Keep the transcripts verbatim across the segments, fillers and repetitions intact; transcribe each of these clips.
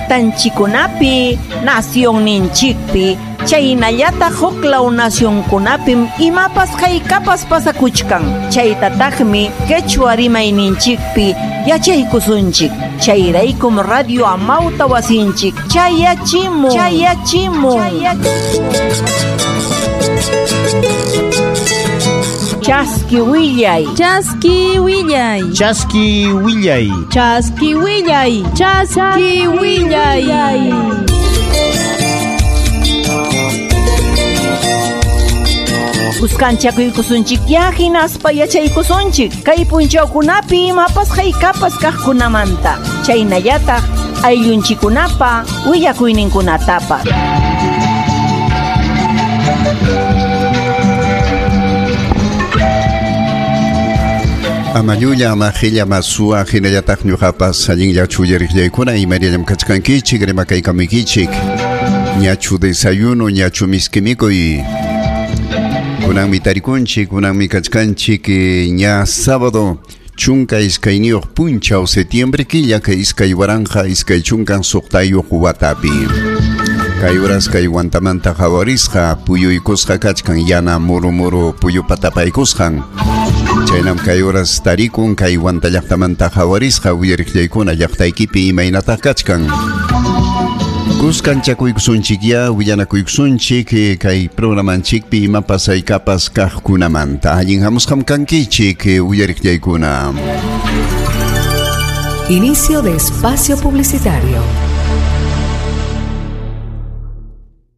Llaqtanchikkunapi, nacionninchikpi, chaynallataq huklaw nacionkunapim imapas haykapas pasakuchkan. Chaytataqmi quechua rimayninchikpi yachaykusunchik. Chayraykum Radio Amauta wasinchik chayachimun, chayachimun. Chaski willay. Chaski willay. Chaski willay. Chaski willay. Chaski willay. Kuskanchakuykusunchik ya hinaspa yachaykusunchik kay punchawkunapi imapas haykapas kaqkunamanta. Chaynallataq ayllunchikunapa willakuyninkunatapas. Amayulla, amajilla, masua, hinallataq ñuqapas allinllachu uyariqllaykuna imaynallam kachkankichik, rimakaykamuykichin. Ñachu desayuno, ñachu miskimikuy. Kunanmi tarikunchik, kunanmi kachkanchik, ña sábado chunka iskayniyuq punchaw septiembre killa kay iskay waranqa iskay chunkan suqtayuq watapi. Kay horas kay wantamanta hawarisqa puyuykusqa kachkan yana muru muru puyupa tapaykusqan. Chaynam kay horas tarikun kay wanta llaqtamanta hawarisqa uyariqllaykuna llaqtaykipi imaynataq kachkan. Kuskanchakuykusunchik ya willanakuykusunchik kay programanchikpi imapas haykapas kaqkunamanta. Allin hamusqam kankichik uyariqllaykuna. Inicio de espacio publicitario.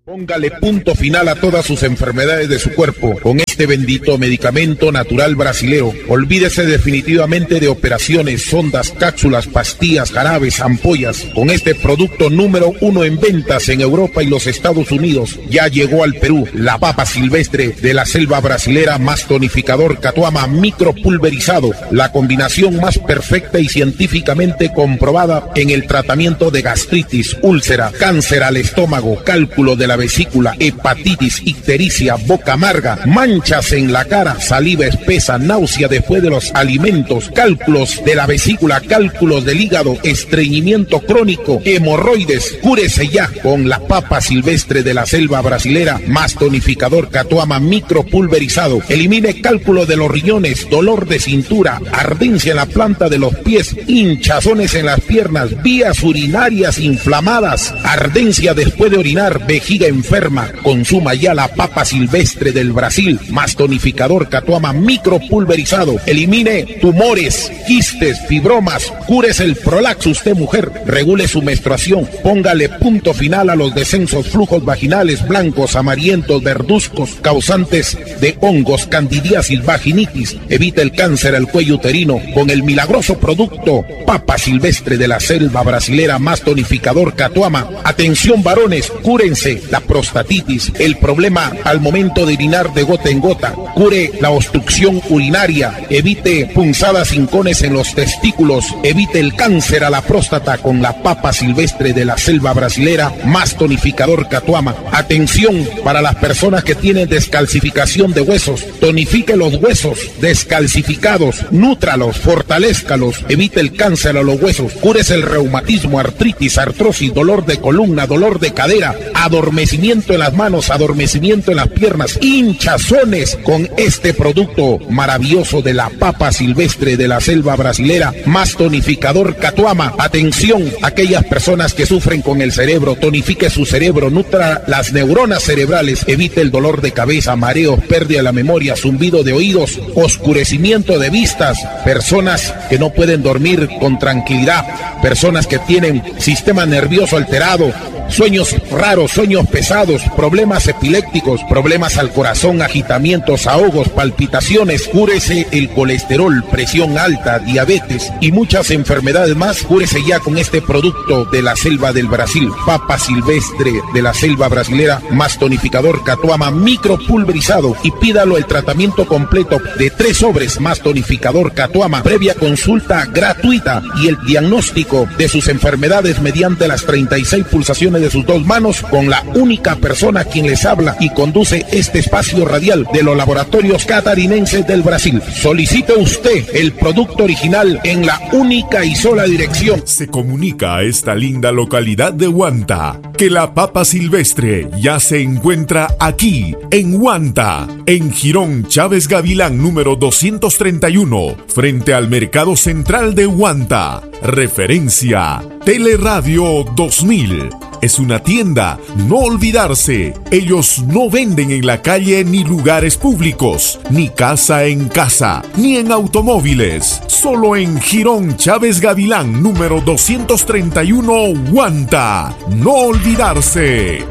Póngale punto final a todas sus enfermedades de su cuerpo con este bendito medicamento natural brasilero. Olvídese definitivamente de operaciones, sondas, cápsulas, pastillas, jarabes, ampollas. Con este producto número uno en ventas en Europa y los Estados Unidos, ya llegó al Perú la papa silvestre de la selva brasilera más tonificador Catuama micropulverizado, la combinación más perfecta y científicamente comprobada en el tratamiento de gastritis, úlcera, cáncer al estómago, cálculo de la vesícula, hepatitis, ictericia, boca amarga, manchas en la cara, saliva espesa, náusea después de los alimentos, cálculos de la vesícula, cálculos del hígado, estreñimiento crónico, hemorroides. Cúrese ya con la papa silvestre de la selva brasilera más tonificador Catuama micropulverizado. Elimine cálculo de los riñones, dolor de cintura, ardencia en la planta de los pies, hinchazones en las piernas, vías urinarias inflamadas, ardencia después de orinar, vejiga enferma. Consuma ya la papa silvestre del Brasil más tonificador Catuama micropulverizado. Elimine tumores, quistes, fibromas, cúrese el prolaxo usted mujer, regule su menstruación, póngale punto final a los descensos, flujos vaginales blancos, amarillentos, verduzcos, causantes de hongos, candidiasis, vaginitis. Evite el cáncer al cuello uterino con el milagroso producto papa silvestre de la selva brasilera más tonificador Catuama. Atención varones, cúrense la prostatitis, el problema al momento de orinar de gota en gota, cure la obstrucción urinaria, evite punzadas hincones en los testículos, evite el cáncer a la próstata con la papa silvestre de la selva brasilera más tonificador Catuama. Atención para las personas que tienen descalcificación de huesos, tonifique los huesos descalcificados, nútralos, fortalézcalos, evite el cáncer a los huesos, cúrese el reumatismo, artritis, artrosis, dolor de columna, dolor de cadera, adormecimiento en las manos, adormecimiento en las piernas, hinchazones con este producto maravilloso de la papa silvestre de la selva brasilera más tonificador Catuama. Atención, aquellas personas que sufren con el cerebro, tonifique su cerebro, nutra las neuronas cerebrales, evite el dolor de cabeza, mareos, pérdida de la memoria, zumbido de oídos, oscurecimiento de vistas, personas que no pueden dormir con tranquilidad, personas que tienen sistema nervioso alterado, sueños raros, sueños pesados, problemas epilépticos, problemas al corazón, agitamientos, ahogos, palpitaciones. Cúrese el colesterol, presión alta, diabetes y muchas enfermedades más. Cúrese ya con este producto de la selva del Brasil, papa silvestre de la selva brasilera más tonificador Catuama micropulverizado, y pídalo el tratamiento completo de tres sobres más tonificador Catuama, previa consulta gratuita y el diagnóstico de sus enfermedades mediante las treinta y seis pulsaciones tome de sus dos manos con la única persona quien les habla y conduce este espacio radial de los laboratorios catarinenses del Brasil. Solicite usted el producto original en la única y sola dirección. Se comunica a esta linda localidad de Huanta que la papa silvestre ya se encuentra aquí, en Huanta, en Jirón Chávez Gavilán número doscientos treinta y uno, frente al Mercado Central de Huanta. Referencia Teleradio dos mil. Es una tienda, no olvidarse. Ellos no venden en la calle ni lugares públicos, ni casa en casa, ni en automóviles. Solo en Jirón Chávez Gavilán, número doscientos treinta y uno, Huanta. No olvidarse.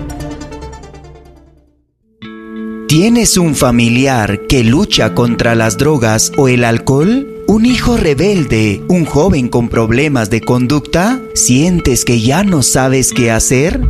¿Tienes un familiar que lucha contra las drogas o el alcohol? ¿Un hijo rebelde? ¿Un joven con problemas de conducta? ¿Sientes que ya no sabes qué hacer?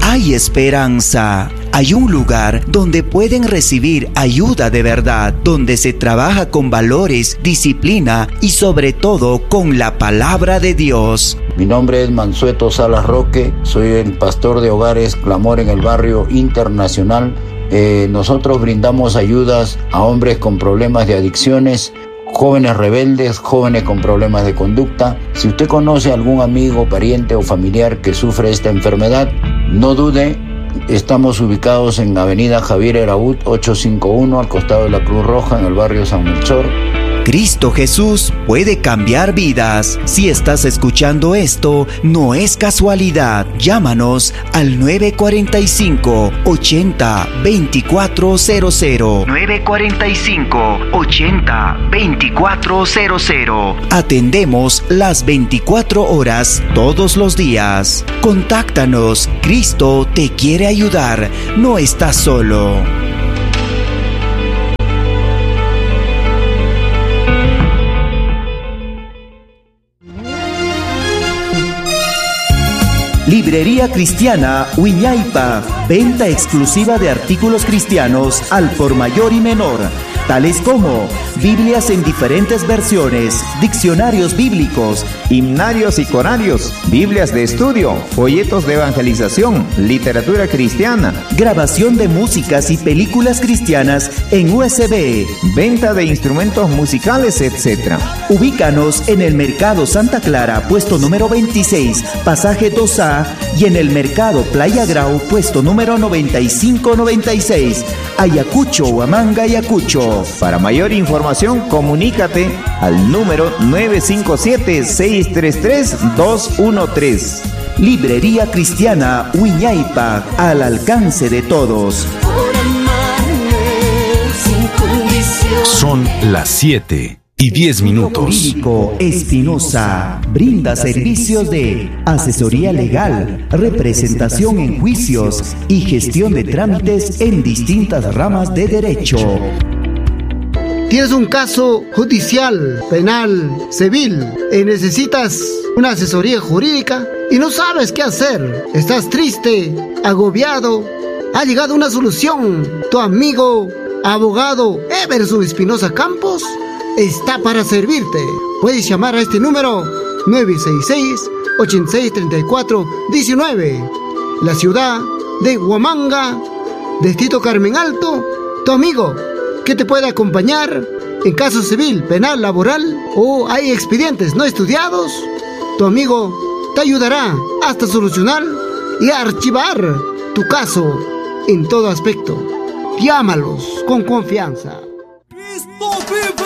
Hay esperanza. Hay un lugar donde pueden recibir ayuda de verdad, donde se trabaja con valores, disciplina y sobre todo con la palabra de Dios. Mi nombre es Mansueto Salas Roque, soy el pastor de Hogares Clamor en el Barrio Internacional. Eh, nosotros brindamos ayudas a hombres con problemas de adicciones, jóvenes rebeldes, jóvenes con problemas de conducta. Si usted conoce a algún amigo, pariente o familiar que sufre esta enfermedad, no dude. Estamos ubicados en Avenida Javier Eraúd, ochocientos cincuenta y uno, al costado de la Cruz Roja, en el barrio San Melchor. Cristo Jesús puede cambiar vidas. Si estás escuchando esto, no es casualidad. Llámanos al nueve cuarenta y cinco, ochenta, veinticuatro cero cero. nueve cuarenta y cinco, ochenta, veinticuatro cero cero. Atendemos las veinticuatro horas todos los días. Contáctanos. Cristo te quiere ayudar. No estás solo. Librería Cristiana Wiñaypa, venta exclusiva de artículos cristianos al por mayor y menor, tales como Biblias en diferentes versiones, diccionarios bíblicos, himnarios y corarios, Biblias de estudio, folletos de evangelización, literatura cristiana, grabación de músicas y películas cristianas en U S B, venta de instrumentos musicales, etcétera. Ubícanos en el Mercado Santa Clara, puesto número veintiséis, pasaje dos A, y en el Mercado Playa Grau, puesto número noventa y cinco noventa y seis, Ayacucho, Huamanga, Ayacucho. Para mayor información, comunícate al número nueve cinco siete, seis tres tres, dos uno tres. Librería Cristiana Wiñaypa, al alcance de todos. Son las siete y diez minutos. Jurídico Espinosa brinda servicios de asesoría legal, representación en juicios y gestión de trámites en distintas ramas de derecho. Tienes un caso judicial, penal, civil y necesitas una asesoría jurídica y no sabes qué hacer. Estás triste, agobiado. Ha llegado una solución. Tu amigo, abogado Everson Espinosa Campos, está para servirte. Puedes llamar a este número nueve seis seis, ochenta y seis, treinta y cuatro, diecinueve. La ciudad de Huamanga, Distrito Carmen Alto, tu amigo que te puede acompañar en caso civil, penal, laboral o hay expedientes no estudiados. Tu amigo te ayudará hasta solucionar y archivar tu caso en todo aspecto. Llámalos con confianza. ¡Cristo vive!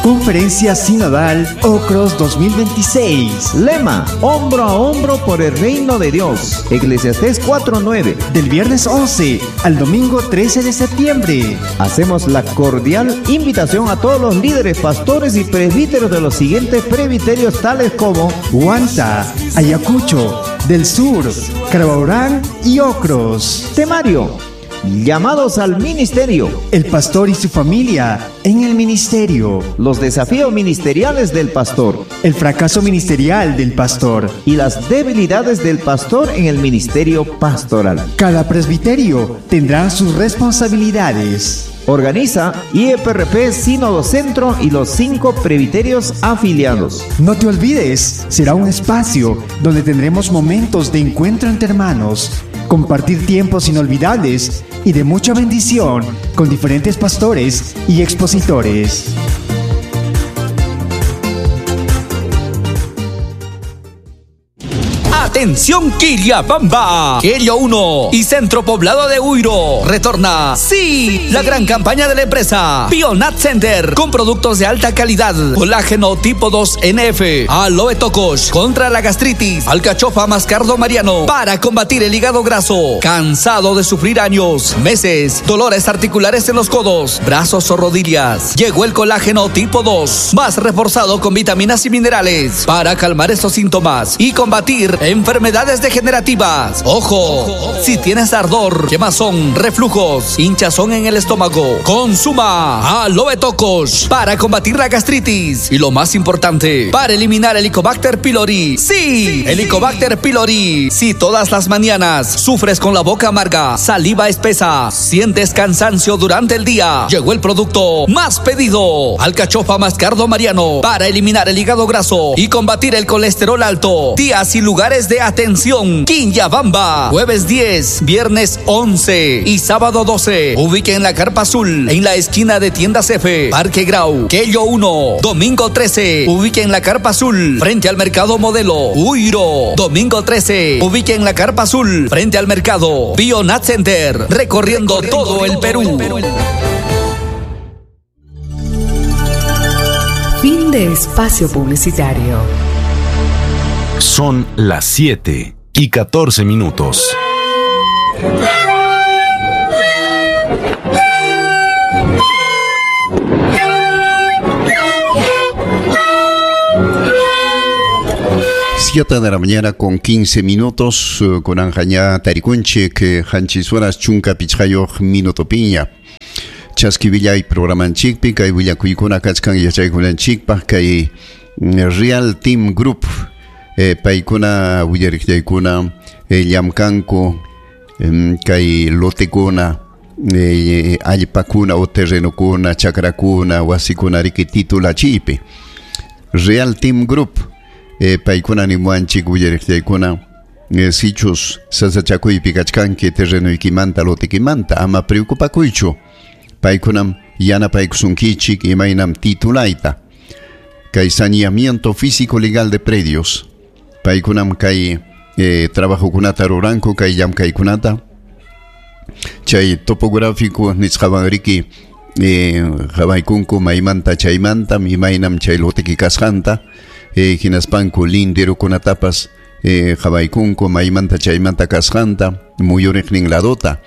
Conferencia Sinodal Ocros dos mil veintiséis. Lema: hombro a hombro por el reino de Dios. Eclesiastés cuatro nueve. Del viernes once al domingo trece de septiembre. Hacemos la cordial invitación a todos los líderes, pastores y presbíteros de los siguientes presbiterios tales como Huanta, Ayacucho, del Sur, Carabaurán y Ocros. Temario: llamados al ministerio. El pastor y su familia en el ministerio. Los desafíos ministeriales del pastor. El fracaso ministerial del pastor. Y las debilidades del pastor en el ministerio pastoral. Cada presbiterio tendrá sus responsabilidades. Organiza I E P R P Sínodo Centro y los cinco presbiterios afiliados. No te olvides, será un espacio donde tendremos momentos de encuentro entre hermanos, compartir tiempos inolvidables y de mucha bendición con diferentes pastores y expositores. Atención Quillabamba, Quello uno y Centro Poblado de Huiro. Retorna, sí, la gran campaña de la empresa Bionat Center con productos de alta calidad, colágeno tipo dos N F, aloe tocos contra la gastritis, alcachofa mascardo mariano para combatir el hígado graso. Cansado de sufrir años, meses, dolores articulares en los codos, brazos o rodillas. Llegó el colágeno tipo dos, más reforzado con vitaminas y minerales para calmar esos síntomas y combatir enfermedades Enfermedades degenerativas. Ojo, si tienes ardor, quemazón, reflujos, hinchazón en el estómago, consuma aloe tocos para combatir la gastritis y lo más importante, para eliminar el Helicobacter pylori. Sí, Helicobacter pylori. Si todas las mañanas sufres con la boca amarga, saliva espesa, sientes cansancio durante el día, llegó el producto más pedido, alcachofa mascardo mariano, para eliminar el hígado graso y combatir el colesterol alto. Días y lugares de atención, Quillabamba, jueves diez, viernes once y sábado doce. Ubiquen la Carpa Azul en la esquina de Tiendas F, Parque Grau, Quello uno, domingo trece. Ubiquen la Carpa Azul frente al Mercado Modelo, Huiro, domingo trece. Ubiquen la Carpa Azul frente al Mercado Bionat Center, recorriendo, recorriendo todo el Perú. el Perú. Fin de espacio publicitario. Son las siete y catorce minutos. Siete de la mañana con quince minutos, con Anjaña Tarikunche, que Hanchisueras Chunka Pichayoj Minuto Piña. Chasquivilla y programanchikpi, kay willakuykunakachkan kachkan yachaykunanchikpaj, kay Real Team Group. Eh, paykuna willariqllaykuna eh, llamkanku eh, kay lotekuna eh, allpakuna o terrenokuna chakrakuna wasikuna riki titulachiypi Real Team Group eh, paykuna nimuanchik willariqllaykuna eh, sichus sasachakuypi kachkanki terrenoykimanta lotekimanta ama preocupakuychu paykunam yanapaykusunkichik imaynam titulayta kay saneamiento físico legal de predios paykunam kay eh, trabajokunata ruranku kay llamkaykunata chay topográfico nisqawan riki eh, qhawaykunku maymanta chaymanta imaynam chay lotiki kasqanta eh, hinaspanku linderokunatapas eh, qhawaykunku maymanta chaymanta kasqanta muyuriqnin ladota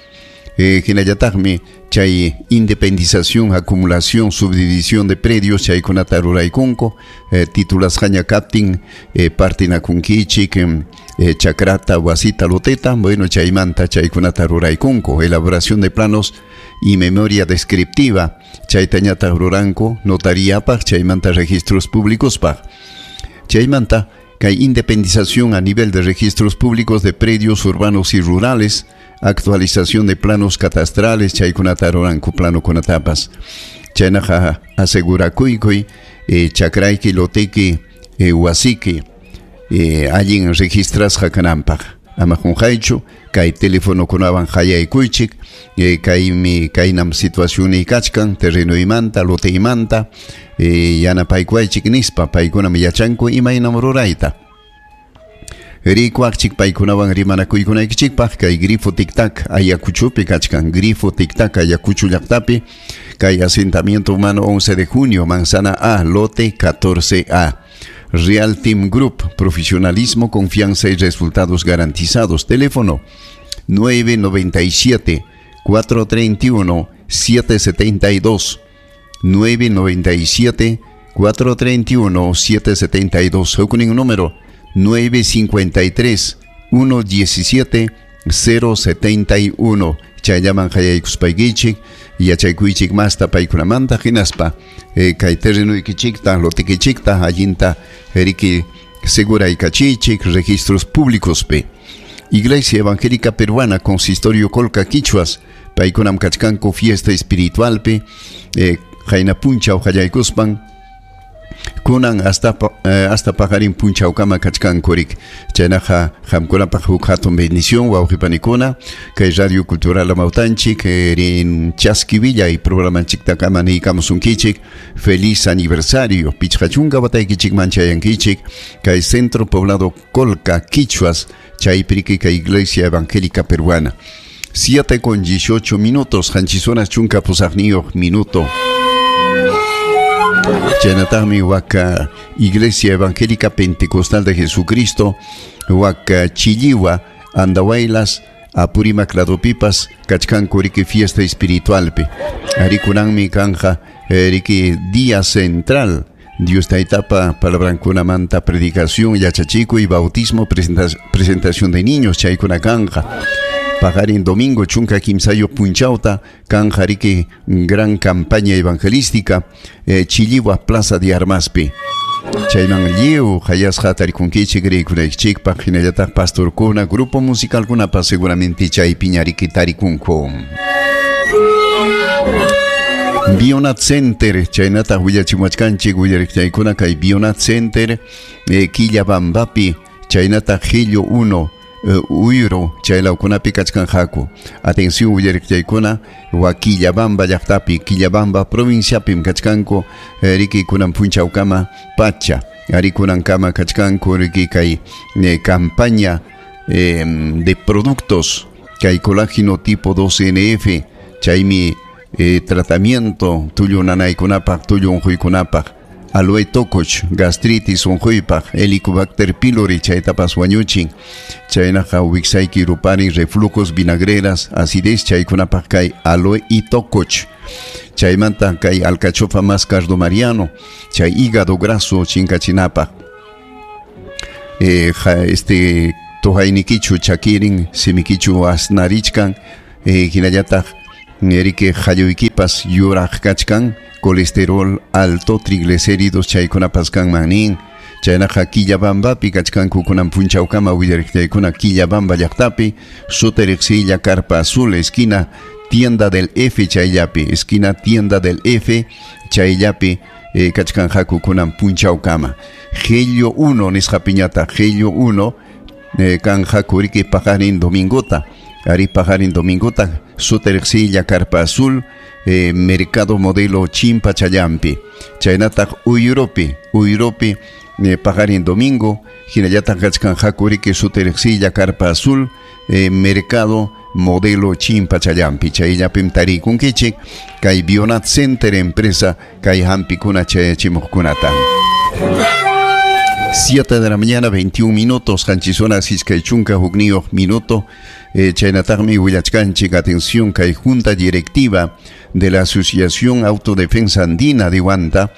eh, hinallataqmi chay independización, acumulación, subdivisión de predios chaykunata ruraykunku eh, titulasqaña kaptin eh, partinakunkichik eh, chakrata, wasita, loteta, bueno chaymanta chaykunata ruraykunku elaboración de planos y memoria descriptiva chaytañata ruranku notariapaq chaymanta registros públicospaq chaymanta kay independización a nivel de registros públicos de predios urbanos y rurales, actualización de planos catastrales, chaykunata ruranku plano kunatapas. Chaynaqa asegurakuykuy, eh, chakrayki, loteki, eh, wasiki, eh, allin registrasqa kananpaq. Ama qunqaychu, kay telefonokunawan hayaykuychik, eh, kaymi kaynam situacioniy kachkan, terrenoymanta, loteymanta, eh, yanapaykuwaychik nispa, paykunam yachanku imaynam rurayta. Rikuaqchik paykunawan rimanakuykunaykichikpaq kay grifo tic-tac Ayacuchopi kachkan, grifo tic-tac Ayacucho llaqtapi, kay asentamiento humano once de junio, manzana A, lote catorce A. Real Team Group, profesionalismo, confianza y resultados garantizados. Teléfono nueve noventa y siete, cuatro treinta y uno, siete setenta y dos. nueve noventa y siete, cuatro treinta y uno, siete setenta y dos. Hukunin número nueve cincuenta y tres, uno diecisiete, cero setenta y uno. Chayllaman hayaykuspaykichik, yachaykuychik masta paykunamanta hinaspa eh, kay terrenuykichikta, lotikichikta, allinta riki seguraykachichik registros públicos pe. Iglesia Evangélica Peruana, Consistorio Colca Quichuas, Paykunam kachkanku fiesta espiritualpi eh, qayna punchaw qallaykuspan kunan hasta eh, hasta paqarin punchawkama kachkankurik. Chaynaqa qamkunapaq huk hatun bendición wawqipanikuna kay Radio Cultural Amawtanchik rin Chaski Willay programanchiktakama niykamusunkichik. Feliz aniversario pichqa chunka wataykichikman chayankichik kay Centro Poblado Colca Quichuas chaypiriki kay Iglesia Evangélica Peruana. siete con dieciocho minutos, qanchis horas chunka pusaqniyuq minuto. Chaynataqmi waka Iglesia Evangélica Pentecostal de Jesucristo, waka Chilliwa, Andahuaylas, Apurímac ladopipas, kachkanku riki fiesta espiritualpi. Arikunanmi kanja riki día central. Dios taytapa palabrankunamanta predicación, yachachikuy, bautismo, presenta presentación de niños, chaykuna kanja. Paqarin domingo chunka kimsayo punchawta kanja riki gran campaña evangelística eh, Chilliwa Plaza de Armaspi. Chayman lliw hayasqa tarikunkichik riykunaykichikpaq hinallataq pastorkuna grupo musicalkunapas seguramente chaypiña riki tarikunku. Bionat Center, chaynataq willachimuachkanchik willariqchaykuna kay Bionat Center eh, Quillabambapi, chaynataq Hillo uno Uh, Uyro chaylawkunapi kachkanqaku. Atención willariqchaykuna wa Quillabamba llaqtapi, Quillabamba provinciapim kachkanku eh, riki kunan punchawkama pacha ari kunankama kachkanku riki kay eh, campaña eh, de productos kay colágeno tipo dos N F chaymi eh, tratamiento tullu nanaykunapaq tullu unquykunapaq aloe tokoch, gastritis unquypaq, Helicobacter pylori chaytapas wañuchin, chaynaqa wiksayki rupari, reflujos, vinagreras, acidez chaykunapaq kay aloe y tokoch. Chaymanta kay alcachofa más cardo mariano, chay hígado graso chinkachinapaq. Eh, ja, este tohaynikichu chakirin, simikichu asnarichkan, eh, hinallataq erike halluykipas yuraq kachkan, colesterol alto, triglicéridos chaykunapas kanman nin. Chaynaqa Quillabambapi kachkanku kunan punchawkama willariqchaykuna Quillabamba llaqtapi, Sutariqsilla Carpa Azul, esquina Tienda del F chayllapi, esquina Tienda del F chayllapi eh, kachkanqaku kunan punchawkama. Gello uno nisqapiñata, Gello uno eh, kanqaku riki paqarin domingota, ari paqarin domingota, Sutariqsilla Carpa Azul, Eh, Mercado Modelo Chimpa Chayampi, chaynataq Uyuropi, Uyuropi eh, paqarin domingo, hinallataq kachkanqaku riki Sutariqsilla Carpa Azul, eh, Mercado Modelo Chimpa Chayampi, chayllapim tarikunkichik kay Bionat Center empresa kay hampikuna chayachimuqkunata. siete de la mañana, veintiún minutos, qanchis horas iskay chunka hukniyuq minuto. Eh, chaynataqmi willachkanchik, atención, kay Junta Directiva de la Asociación Autodefensa Andina de Huanta,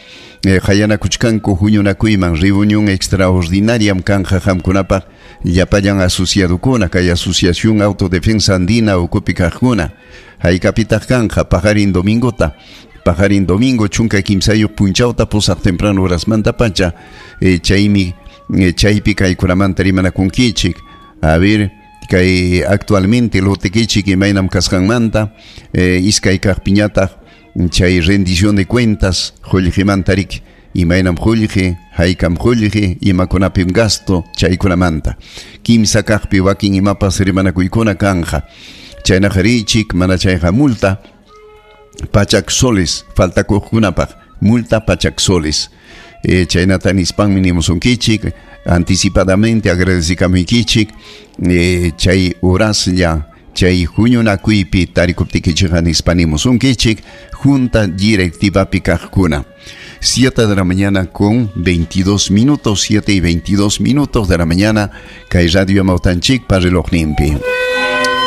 eh, hayanakuchkanku huñunakuyman reunión extraordinaria kanja qamkunapaq llapallan asociadukuna kay Asociación Autodefensa Andina ukupi kaqkuna. Haykapitaq kanja paqarin domingota, paqarin domingo chunka kimsayuq punchawta pusaq temprano horasmanta pacha, eh, chaymi eh, chaypi kaykunamanta rimanakunkichik. A ver, kay actualmente lotekichik imaynam kasqanmanta, eh, iskay kaqpiñataq chay rendición de cuentas qullqimanta riki imaynam qullqi, haykam qullqi, imakunapim gasto chaykunamanta. Kimsa kaqpi wakin imapas rimanakuykuna kanja. Chaynaqa richik mana chayqa multa pachak soles faltakuqkunapaq, multa pachak soles. Eh, chaynata nispanmi nimusunkichik anticipadamente agradecikamuykichik eh, chay horaslla chay huñunakuypi tarikuptikichikqa nispa nimusunkichik junta directivapi kaqkuna. siete de la mañana con veintidós minutos, siete y veintidós minutos de la mañana kay Radio Amawtanchikpa relojninpi.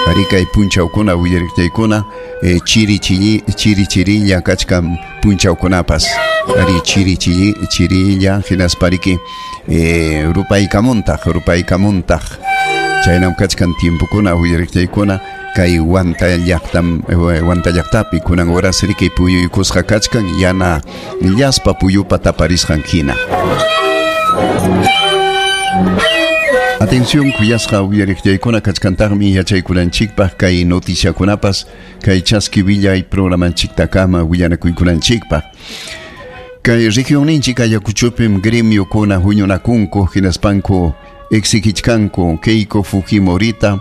Arikay punchawkuna willariqchaykuna eh, chiri chiri chiri chirilla kachkan punchawkunapas. Ari chiri chiri chirilla hinaspariki eh, rupaykamuntaq rupaykamuntaq. Chaynam kachkan tiempokuna willariqchaykuna kay Huanta llaqtam Huanta llaqtapi kunan horas riki puyuykusqa kachkan yana llaspa puyupa taparisqan hina. Atención, kuyasqa uyariqllaykuna kachkantaqmi yachaykunanchikpaq kay noticiakunapas kay chaski willay programanchiktakama willanakuykunanchikpaq. Kay regionninchik Ayacuchopim gremiokuna huñunakunku hinaspanku exigichkanku Keiko Fujimorita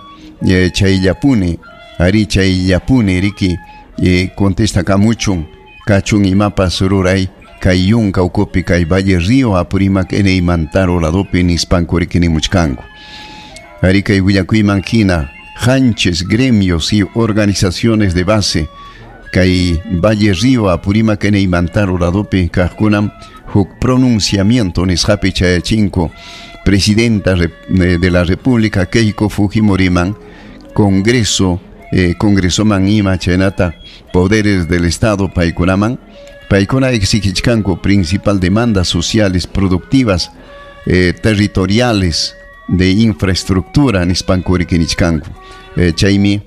eh, chayllapuni ari chayllapuni riki eh, contestakamuchun kachun imapas ruray kay yunka ukupi kay Valle Río Apurímac Ene Mantaro ladopi nispanku riki nimuchkanku. Ari kay willakuyman hina hanches gremios y organizaciones de base kay Valle Río Apurímac Ene Mantaro ladopi kaqkunam huk pronunciamiento nisqapi chayachinko presidenta de la República Keiko Fujimoriman Congreso eh, Congresoman ima chaynata poderes del Estado paykunaman paykuna exigichkanku principal demandas sociales productivas eh, territoriales de infraestructura nispanku rikinichkanku eh, chaymi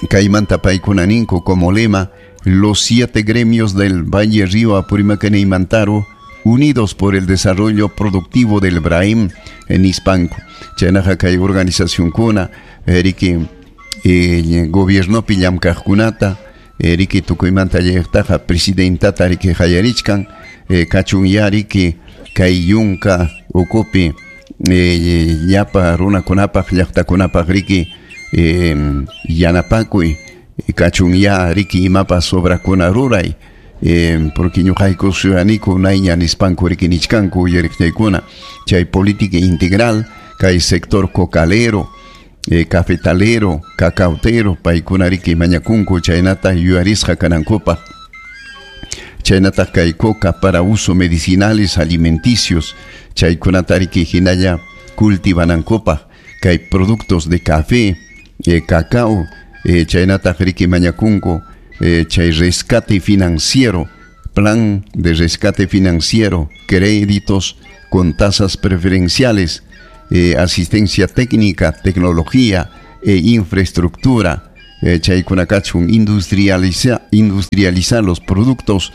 kaymanta paykuna ninku como lema los siete gremios del Valle Río Apurímac Ene y Mantaro unidos por el desarrollo productivo del Braim en Hispanco. Chaynaqa kay organización kuna riki eh, gobiernopi llamkaqkunata riki tukuymanta llaqtaqa presidentata riki qayarichkan eh, kachunya riki kay yunka ukupi eh, llapa runakunapaq llaqtakunapaq riki eh, yanapakuy kachunya riki imapas obrakuna ruray eh, porque ñuqayku suyaniku nayña nispanku riki nichkanku uyariqllaykuna chay política integral kay sector cocalero eh, cafetalero, cacautero paykuna riki mañakunku chaynata yuyarisqa kanankupaq chaynata kay coca para uso medicinales alimenticios chaykunata riki hinalla cultivanankupaq kay productos de café eh, cacao eh, chaynata riki mañakunku eh, chay rescate financiero, plan de rescate financiero, créditos con tasas preferenciales, eh, asistencia técnica, tecnología e infraestructura, eh, chaykunakachun industrializa, industrializar los productos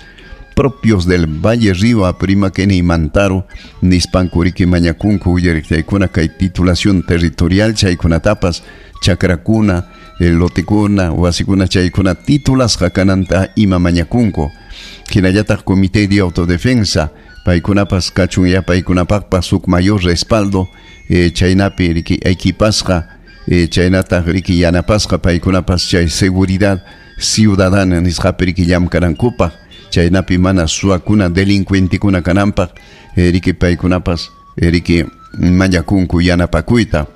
propios del Valle Río Apurímac Ene y Mantaro, nispanku riki mañakunku uyariqllaykuna kay titulación territorial chaykunatapas chakrakuna lotekuna wasikuna chaykuna titulasqa kananta ima mañakunku hinallataq comité de autodefensa paykunapas kachun ya paykunapaqpas huk mayor respaldo eh, chaynapi riki equipasqa eh, chaynataq riki yanapasqa paykunapas chay seguridad ciudadana nisqapi riki llamkanankupaq chaynapi mana suwakuna delincuentekuna kananpaq eh, riki paykunapas eh, riki mañakunku yanapakuyta.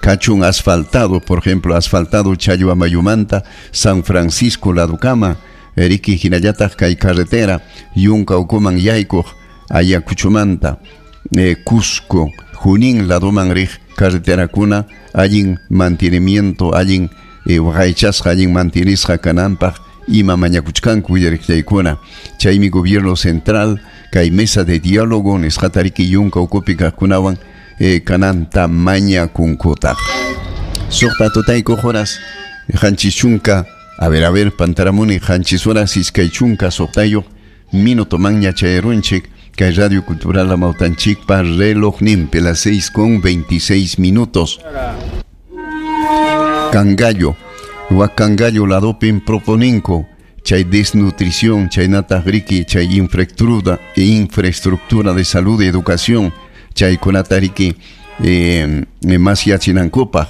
Kachun asfaltado, por ejemplo, asfaltado Challhuamayumanta, San Francisco ladukama, riki hinallataq kay carretera, yunka ukuman yaykuq Ayacuchumanta, eh, Cusco, Junín laduman riq carreterakuna, allin mantenimiento, allin eh, waqaychasqa, allin mantenisqa kananpaq ima mañakuchkanku uyariqllaykuna. Chaymi gobierno central, kay mesa de diálogo nisqata riki yunka ukupi kaqkunawan Eh, kananta mañakunkutaq. Suqta tutayku horas qanchis chunka, a ver, a ver, pantaramuni qanchis horas iskay chunka suqtayuq minuto manña chayarunchik kay Radio Cultural Amautanchikpa relojninpi las seis con veintiséis minutos. Cangallo, Huacangallo ladopin proponinko chay desnutrición, chaynataq riki, chay infraestructura, infraestructura de salud y educación chaykunata riki eh, mas yachinankupaq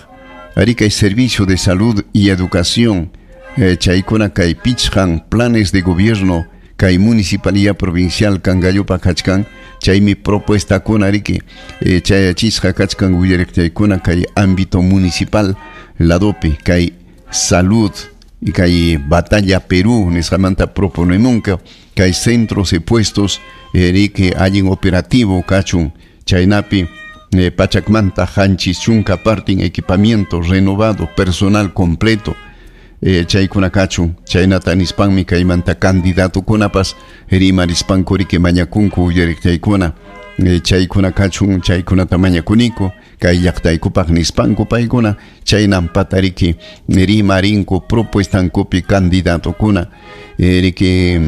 riki hay servicio de salud y educación eh, chaykuna kay pichqan planes de gobierno kay municipalidad provincial Cangallopa kachkan chaymi propuestakuna riki eh, chayachisqa kachkan willariqchaykuna kay ámbito municipal ladopi kay salud y kay batalla Perú nisqamanta proponemunka kay centros y puestos eh, riki allin operativo kachun chaynapi eh, pachakmanta qanchis chunka partin equipamiento renovado personal completo eh, chaykuna kachun chaynata nispanmi kaymanta candidatokunapas rimarispanku riki mañakunku uyariqchaykuna eh, chaykuna kachun chaykunata mañakuniku kay llaqtaykupaq nispanku paykuna chaynampata riki rimarinku propuestankupi candidatokuna eh, riki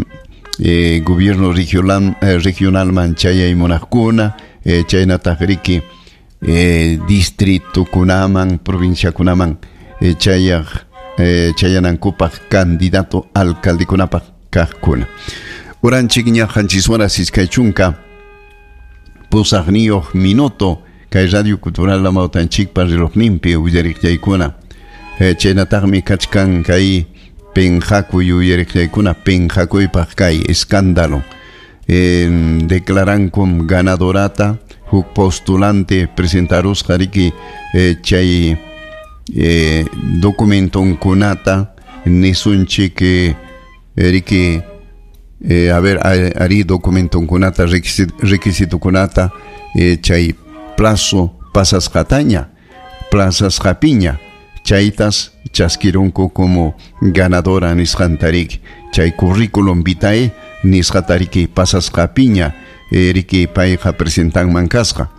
eh, gobierno regional, eh, regionalman chayaymunaqkuna eh, chaynataq riki eh, distrito kunaman, provincia kunaman eh, chayaq eh, chayanankupaq candidato alcaldekunapaq kaqkuna. Uranchik ña qanchis horas iskay chunka pusaqniyuq minuto kay Radio Cultural Amawtanchikpa relojninpi uyariqllaykuna. Eh, chaynataqmi kachkan kay penqakuy uyariqllaykuna penqakuypaq kay escándalo. Eh, declarankum ganadorata huk postulante presentarusqa riki eh, chay eh, documentonkunata nisunchik eh, riki eh, a ver ari documentonkunata requisitokunata eh, chay plazo pasasqataña plazasqapiña chaytas chaskirunku como ganadora nisqantariki chay currículum vitae nisqatariki pasasqapiña eh, riki payqa presentanman kasqa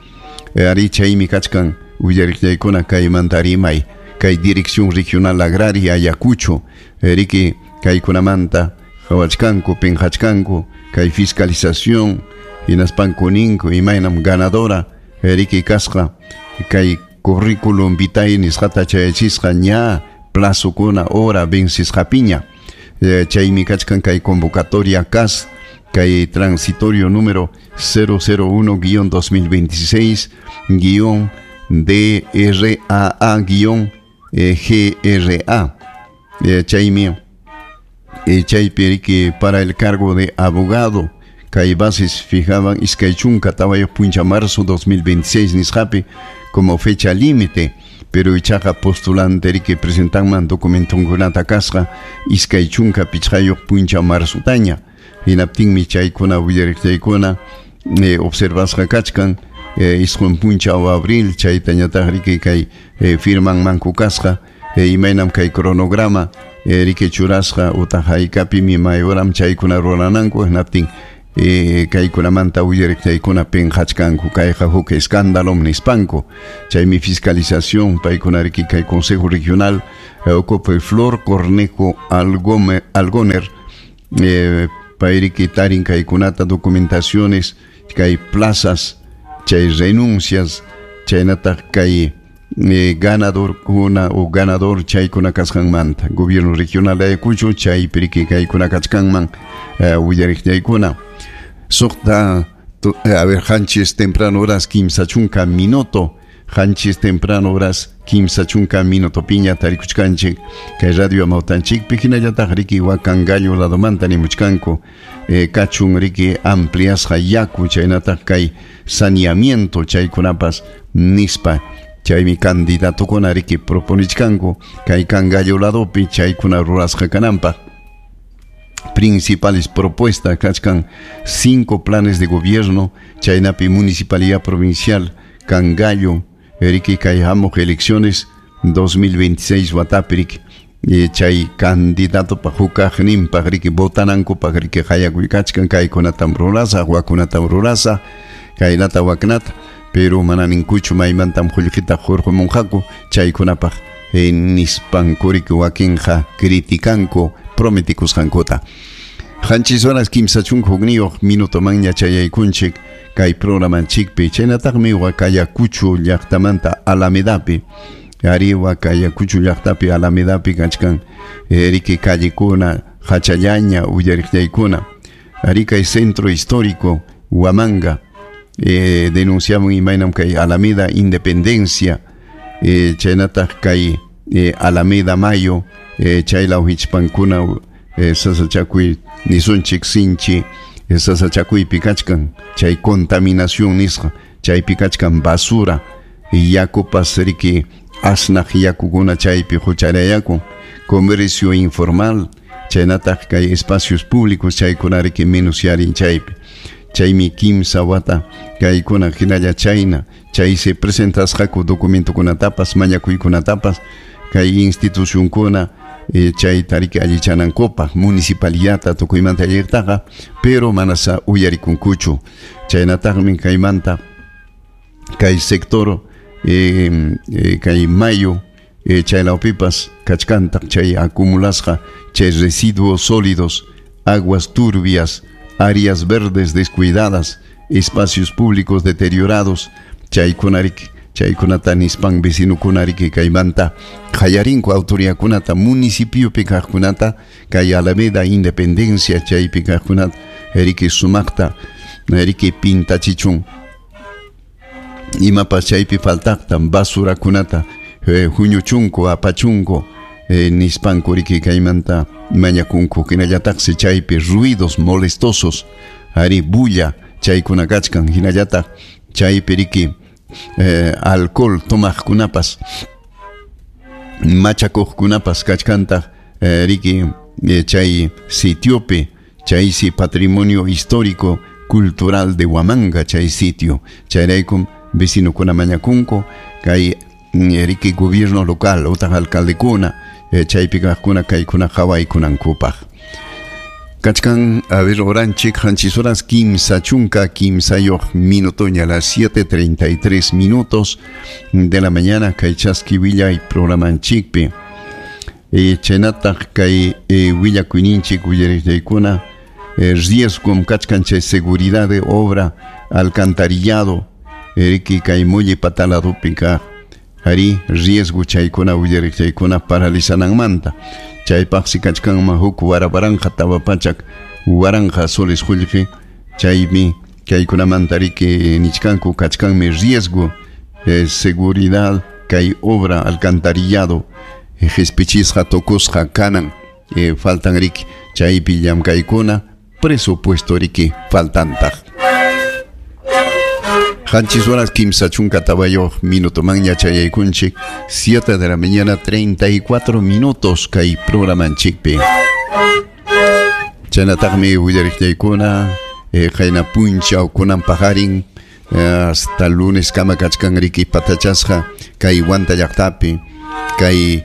eh, ari chaymi kachkan uyariqllaykuna kaymanta rimay kay Dirección Regional Agraria Ayacucho eh, riki kaykunamanta qhawachkanku pinqachkanku kay fiscalización hinaspanku ninku imaynam ganadora riki kasqa kay currículum vitae nisqata chayachisqa ña plazokuna hora vencisqapiña eh, chaymi kachkan kay convocatoria C A S kay transitorio número cero cero uno guion dos mil veintiséis guion D R A A guion G R A eh, chaymi eh, chaypi riki para el cargo de abogado kay bases fijaban iskay chunka tawayuq puncha marzo dos mil veintiséis nisqapi como fecha límite, pero ichaqa postulante riki presentanman documentonkunata kasqa iskay chunka pichqayuq puncha marzutaña hinaptinmi chaykuna willariqllaykuna eh, observasqa kachkan eh, isqun punchaw abril chaytañataq riki kay eh, firmanmanku kasqa eh, imaynam kay cronograma eh, riki churasqa utaq haykapimi mayuram chaykuna rurananku hinaptin Eh, kaykunamanta uyariqllaykuna pinqachkanku kayqa huk escándalo nispanku chaymi fiscalización paykuna riki kay Consejo Regional eh, ocupa Flor Cornejo Algome, Algoner eh, payriki tarin kaykunata documentaciones kay plazas chay renuncias chaynataq kay eh, ganador kuna o ganador chaykuna kasqanmanta gobierno regional de Ayacucho chaypi riki kaykuna kachkanman eh, uyariqllaykuna Suqta, a ver, qanchis temprano horas kimsa chunka minuto, qanchis temprano horas kimsa chunka minuto piña tarikuchkanchik, kay radio amawtanchikpi hinallataq riki Wakangallo ladomanta nimuchkanku, eh, kachun riki ampliasqa yaku chaynataq kay saneamiento chaykunapas nispa, chaymi candidatokuna riki proponichkanku, kay Cangallo ladopi chaykuna rurasqa kananpaq. Principales propuestas kachkan cinco planes de gobierno chaynapi municipalidad provincial Cangallo riki kay hamuq elecciones dos mil veintiséis watapi riki eh, chay candidato pa hukaqninpaq riki votanankupaq riki qayakuykachkan kaykunatam rurasaq wakunatam rurasaq kaynata waknata pero mana ninkuchu maymantam qullqita hurqumunqaku chaykunapaq eh, nispanku riki wakinqa criticanku prometikusqankuta. Qanchis horas kimsa chunka hukniyuq minutomanña chayaykunchik kay programanchikpi chaynataqmi Huacayacucho llaqtamanta Alamedapi ari Huacayacucho llaqtapi Alamedapi kachkan eh, riki callecuna hachallaña uyariqllaykuna ari kay centro histórico Huamanga eh, denunciaban imaynam kay Alameda Independencia eh, chaynataq kay eh, Alameda Mayo eh, chaylaw hichpankuna eh, sasachakuy nisunchik sinchi eh, sasachakuypi kachkan chay contaminación nisqa chaypi kachkan basura yakupas riki asnaq yakukuna chaypi hucharayakun comercio informal chaynataq kay espacios públicos chaykuna riki menosyarin chaypi chaymi kimsa wata kaykuna hinalla chayna chay se presentasqaku documentokunatapas mañakuykunatapas kay institucionkuna eh, chayta riki allichanankupaq municipalidadta tukuymanta alliqtaqa pero manasa uyarikunkuchu chaynataqmi kaymanta kay sector eh, eh, kay mayo eh, chaylawpipas kachkantaq chay acumulasqa chay residuos sólidos aguas turbias áreas verdes descuidadas espacios públicos deteriorados chaykuna riki Chaykunata nispan vecinokuna riki kaymanta qallarinku autoridadkunata municipiopi kaqkunata kay Alameda Independencia chaypi kaqkunata riki sumaqta riki pintachichun imapas chaypi faltaqta basurakunata eh, huñuchunku apachunku eh, nispanku riki kaymanta mañakunku hinallataqsi chaypi ruidos molestosos ari bulla chaykuna kachkan hinallataq chaypi riki Eh, alcohol tomaqkunapas machakuqkunapas kachkantaq eh, riki eh, chay sitiopi chaysi patrimonio histórico cultural de Huamanga chay sitio chayraykum vecinokuna mañakunku kay riki gobierno local utaq alcaldekuna eh, chaypi kaqkuna kaykuna qhawaykunankupaq. Kachkan, a ver, oranchik, qanchis horas kimsa chunka kimsayuq minutoña, a las siete treinta y tres minutos de la mañana, kay chaski willay programanchikpi. E, chaynataq kay e, willakuyninchik willariqllaykuna, e, riesgom kachkan chay seguridad de obra, alcantarillado, riki kay mulli pataladupi kaq, ari riesgo chaykuna willariqllaykuna paralizananmanta. Chaypaqsi kachkanman huk warawaranqa tawa pachak waranqa soles qullqi chaymi kaykunamanta riki nichkanku kachkanmi riesgo eh, seguridad kay obra alcantarillado eh, qhispichisqa tukusqa kanan eh, faltan riki chaypi llamkaykuna presupuesto riki faltantaq. Qanchis horas kimsa chunka tawayuq minutomanña chayaykunchik, siete de la mañana treinta y cuatro minutos kay programanchikpi. Chaynataqmi willariqllaykuna eh, qayna punchaw kunan paqarin eh, hasta lunes kama kachkan riki patachasqa kay Huanta llaqtapi kay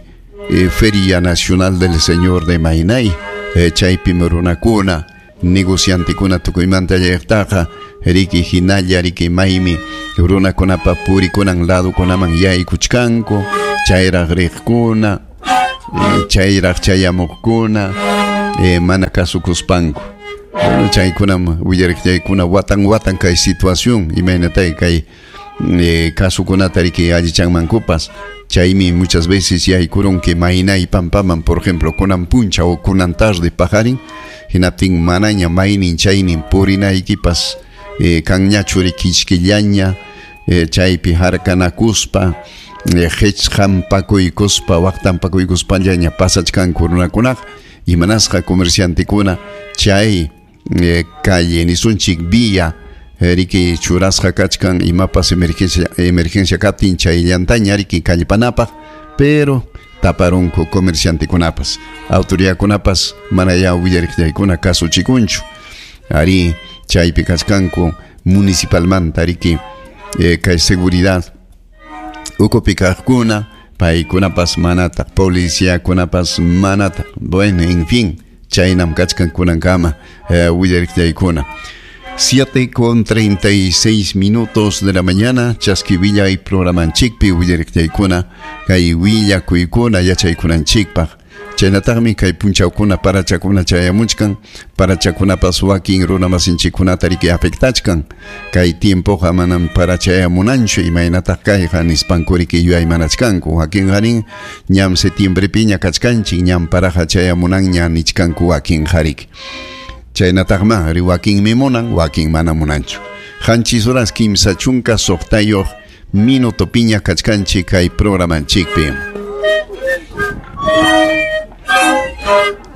eh, Feria Nacional del Señor de Mainay eh, chaypimi runakuna negociantekuna tukuymanta llaqtaqa riki hinalla riki maymi runakunapa purikunan ladukunaman yaykuchkanku chayraq riqkuna eh, chayraq chayamuqkuna eh, mana kasukuspanku. Bueno, chaykunam willariqllaykuna watan watan kay situación imaynatay kay eh, kasukunata riki allichanmankupas. Chaymi muchas veces yaykurunki maynay pampaman, por ejemplo, kunan puncha o kunan tarde paqarin hinaptin manaña maynin chaynin purinaykipas eh, kanñachu riki kichkillaña eh, chaypi harkanakuspa eh, qhichqampakuykuspa waqtampakuykuspallaña pasachkanku runakunaqa imanasqa comerciantekuna chay eh, calle nisunchik vía eh, riki churasqa kachkan imapas emergencia emergencia kaptin chayllantaña riki kallpanapaq pero taparunku comerciantekunapas autoridadkunapas manaya willariqllaykuna kasuchikunchu ari chaypi kachkanku municipalmanta riki eh, kay seguridad ukupi kaqkuna paykunapas manataq policiakunapas manataq bueno en fin chaynam kachkan kunankama eh, willariqllaykuna. Siete con treinta y seis minutos de la mañana, chaski willay programanchikpi willariqllaykuna kay willakuykuna yachaykunanchikpaq. Chaynataqmi kay punchawkuna parachakuna chayamuchkan, parachakunapas wakin runamasinchikkunata riki afectachkan. Kay tiempoqa manam parachayamunanchu imaynataq kayqa nispanku riki yuyaymanachkanku. Wakin qarin ñam septiembrepiña kachkanchik ñam paraqa chayamunanña nichkanku wakin qarik. Chaynataqma ri wakinmi munan, wakin mana munanchu. Qanchis horas kimsa chunka suqtayuq minutopiña kachkanchik kay programanchikpi.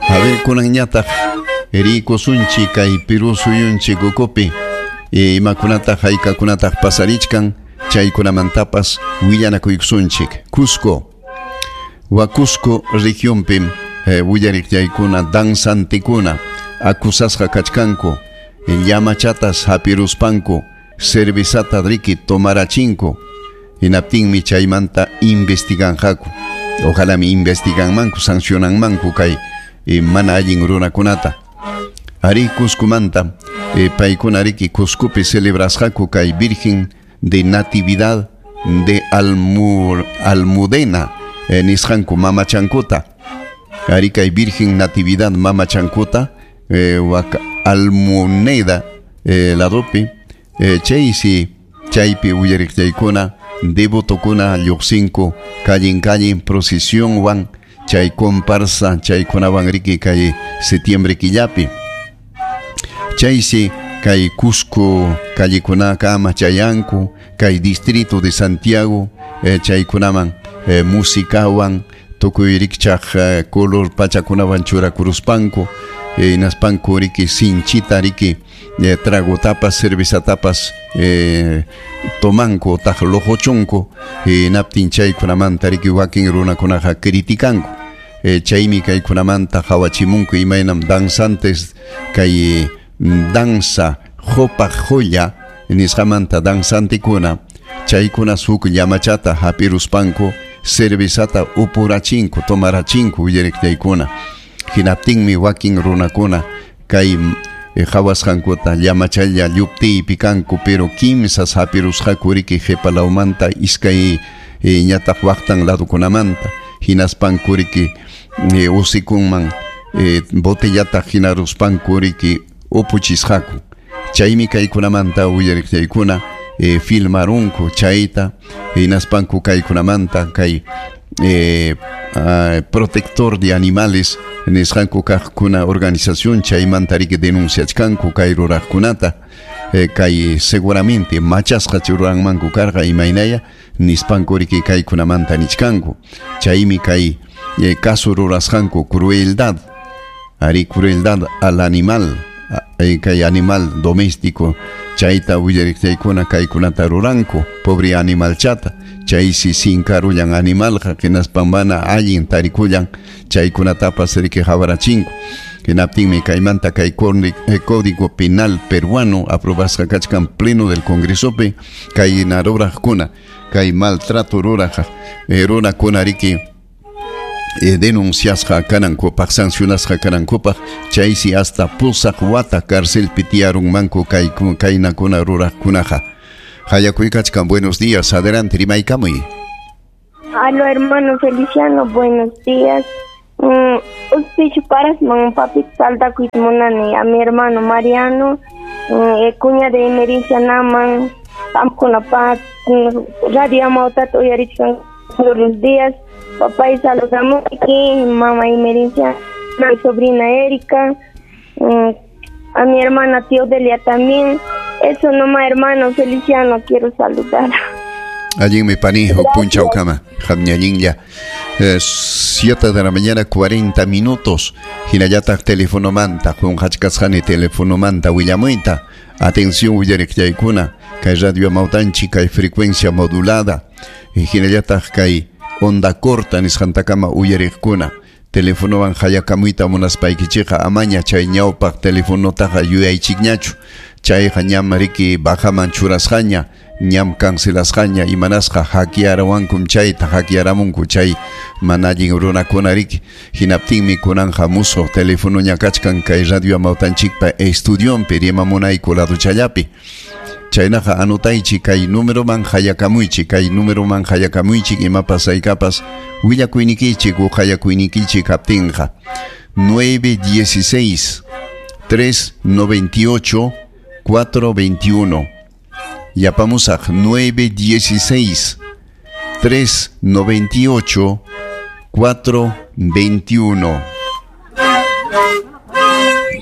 A ver, kunanñataq rikusunchik kay Perú suyunchik ukupi imakunataq haykakunataq pasarichkan chaykunamantapas willanakuykusunchik. Cusco, Huacusco regionpim eh, willariqllaykuna danzantikuna acusasqa kachkanku llamachatas hapiruspanku cervezata riki tomarachinku hinaptinmi chaymanta investiganqaku. Ojalá mi investiganmanku sancionanmanku kay eh, mana allin runakunata. Ari Cuscomanta eh, paykuna riki Cuscopi celebrasqaku kay Virgen de Natividad de Almur, Almudena eh, nisqanku mamachankuta. Ari kay Virgen Natividad mamachankuta eh, wak Almoneda eh, ladopi eh, chaysi chaypi willariqllaykuna Devotokuna lluqsinku kallin kallin procesionwan chay comparsa chaykunawan riki kay septiembre killapi. Chaysi kay Cusco callekunakama chayanku kay distrito de Santiago eh, chaykunaman eh, musikawan tukuy rikchaq eh, color pachakunawan churakuruspanku eh, hinaspanku riki sinchita riki eh, tragotapas cervezatapas eh, tomanku otaq lojochunku hinaptin chaykunamanta riki wakin runakunaqa criticanku eh, chaymi kaykunamanta hawachimunku imaynam danzantes kay danza jopa joya nisqamanta danzantikuna chaykuna huk llamachata hapiruspanku cervezata upurachinku tomarachinku uyariqtaykuna hinaptinmi wakin runakuna kay eh, hawasqankuta llamachalla lluptiypi kanku pero kimsas hapirusqaku riki qhipalawmanta iskay eh, ñataq waqtan ladukunamanta hinaspanku riki eh, usikunman eh, botellata hinaruspanku riki upuchisqaku chaymi kaykunamanta uyariqtaykuna eh, filmarunku chayta hinaspanku kaykunamanta kay eh, uh, protector de animales nisqanku kaqkuna organización chaymanta riki denunciachkanku kay ruraqkunata eh, kay seguramente machasqa ruranmanku karqa imaynaya nispanku riki kaykunamanta nichkanku chaymi kay eh, caso rurasqanku crueldad ari crueldad al animal eh, kay animal doméstico chayta uyariqtaykuna kaykunata ruranku pobre animalchata chaysi sinkarullan animalqa hinaspan mana allin tarikullan chaykunatapas riki hawarachinku hinaptinmi kaymanta kay Código Penal peruano aprobasqa kachkan pleno del Congresopi kay ruraqkuna kay maltrato ruraq eh, runakuna riki eh, denunciasqa kanankupaq sancionasqa kanankupaq chaysi hasta pusaq wata carcelpi tiyarunmanku kay kaynakuna ruraqkunaqa. Hayakuykachkan, buenos días, adelante, rimaykamuy. Aló, hermano Feliciano, buenos días. Mm, usted paras man papi salta munani a mi hermano Mariano, mm, cuña de Emerencia Naman, con la paz, radio Amautat uyarichkan todos los días. Papá y saludamos aquí, mamá Emerencia, mi sobrina Erika, mm, a mi hermana Teodelia también. Eso nomás, hermano Feliciano, quiero saludar. Allinmi pani, punchawkama, hamñallinlla. siete de la mañana, cuarenta minutos. Hinallataq telefonomanta, qunqachkasqani telefonomanta willamuyta. Atención uyariqllaykuna, kay radio Amautanchik, kay frecuencia modulada. Hinallataq kay onda corta nisqantakama uyariqkuna. Telefonowan hayakamuyta munaspaykichikqa amaña chay ñawpaq telefonotaqa yuyaychikñachu. Chayqa ñam riki bajaman churasqaña, ñam cancelasqaña, imanasqa hakyarawankum chayta hakyaramunku chay mana allin runakuna riki. Hinaptinmi kunanja musuq telefonoña kachkan kay radio Amautanchikpa estudionpi rimamunayku laduchallapi. Chaynaqa anotaychik kay numeroman hayakamuychik, kay numeroman hayakamuychik imapas haykapas willakuynikichik u hayakuynikichik kaptinqa. nueve dieciséis, tres noventa y ocho, cuatro veintiuno. Yapamusaq nueve dieciséis, tres noventa y ocho, cuatro veintiuno.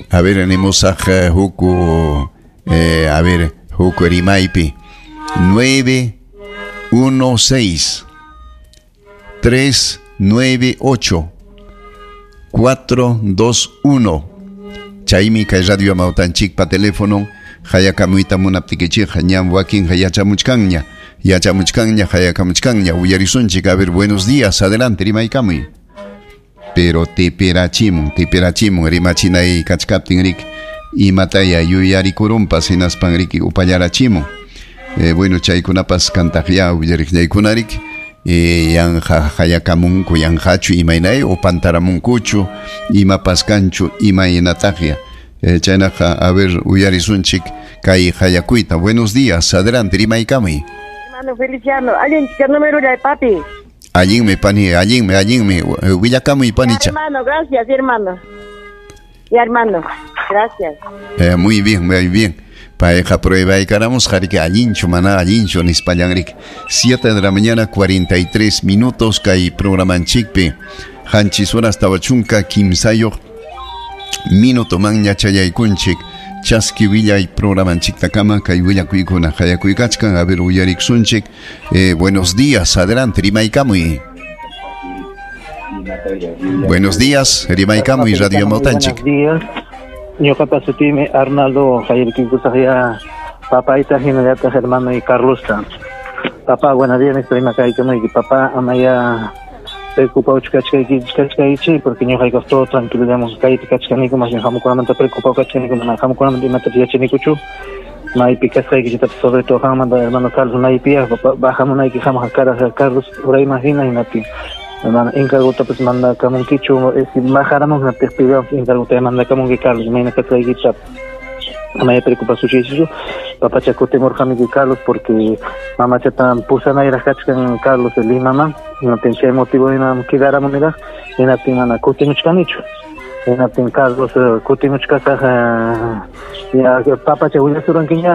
A ver, animusaq huku, eh, a ver, huku rimaypi nueve uno seis, tres nueve ocho, cuatro dos uno. Chaymi kay radio Amautanchikpa teléfono hayakamuyta munaptikichikqa ñam wakinqa yachamuchkanña, yachamuchkanña, hayakamuchkanña. Uyarisunchik, a ver, buenos días, adelante, rimaykamuy. Pero teperachimun, teperachimun, rimachinay kachkaptin rik imataya yuyarikurunpas hinaspan riki upallarachimun. Eh, bueno, chaykunapas kantaqya uyariqllaykunarik eh, yanja hayakamunku, yanjachu imaynay o pantaramunkuchu, imapas kanchu imaynataqya. Eh, chaynaqa, a ver, uyarisunchik kay hayakuyta. Buenos días, adelante, rimaykamuy. Hermano Feliciano, allinmi número de papi. Allinmi pani, allinmi, allinmi, willakamuy panicha. Hermano, gracias, hermano. Ya, hermano, gracias. Eh, muy bien, muy bien. Payqa pruebaykaramusqa riki allinchu mana allinchu nispallan riki. siete de la mañana cuarenta y tres minutos kay programanchikpi. Qanchis horas tawa chunka kimsayuq minuto man ñachayaykunchik. Chaski willay programanchiktakama kay willakuykuna qayakuykachkan. A ver, uyariksunchik. Eh, buenos días, adelante, rimaykamuy. Buenos días, rimaykamuy Radio Amautanchik. Buenos días. Ñuqapa sutimi Arnaldo Jairkikusaqya papayta hinallataq hermano y Carlosta. Papá, buenos días, rimakaykamuyki. Papá, amaya preocupado kachkaykichik porque ñuqayku todo tranquilo digamos kaypi kachkaniku más bien hamukunamanta preocupado kachkaniku mana hamukunamanta imatapas yachanikuchu maypi kasqaykichiktapas sobre todo qanmanta hermano Carlos maypiyaq bajamunayki hamuq karaq Carlos urayman hina hinaptin hermano encargotapas mandakamunkichu bajaramun hinaptin pidamos encargota mandakamunki Carlos mayna kasqaykichiktapas amaya preocupasuchaychichu papacha kutimurqamiki Carlos porque mamachata pusanayraq kachkan Carlos Limaman hinaptin chay motivo hinam quedaramuniraq hinaptin mana kutimuchkanichu hinaptin Carlos kutimuchkasaq ya papacha willasurankiña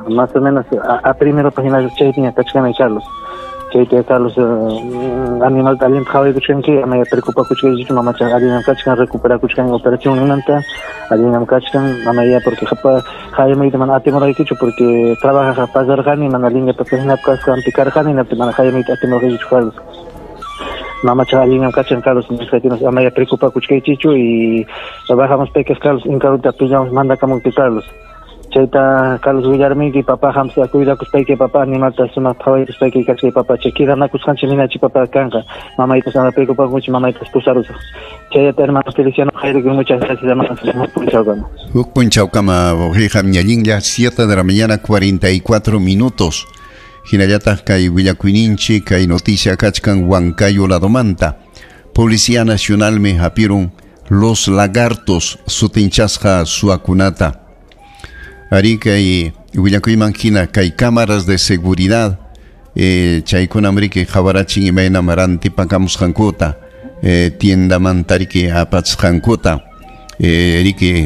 más o menos a, a primero hina chaypiña kachkani Carlos chaypi Carlos animalta allinta qhawaykuchkanki amaya preocupakuchkaychichu mamacha allinam kachkan recuperakuchkan operación ninmanta allinam kachkan amaya porque hayamayta mana atimurqaykichu porque trabajaqa pasarqani mana linyapas hinap kasqanpi karqani hinaptin mana hayamayta atimurqaykichu Carlos mamacha allinam kachkan Carlos nisqaykinas amaya preocupakuchkaychichu y bajamos peques Carlos inkaruta pillamos mandakamunki Carlos chayta Carlos willarmiki papá hamsa cuidakuspayki papá animalta sumaq qhawaykuspayki kachkay papá chay quedanakusqanchik minachi papá kanqa mamaypas ama preocupakunchi mamaypas pusarusaq chayata hermano Feliciano Jairo muchas gracias hermano huk punchawkama huk punchawkama hija ñallinlla siete de la mañana cuarenta y cuatro minutos hinallataq kay willakuyninchik kay noticia kachkan Huancayo ladomanta Policía Nacional me hapirun los lagartos sutinchasqa suakunata Ari kay willakuyman hina kay cámaras de seguridad eh, chaykunam riki qhawarachin imaynam rantipakamusqankuta eh, tiendamanta riki apachisqankuta eh, riki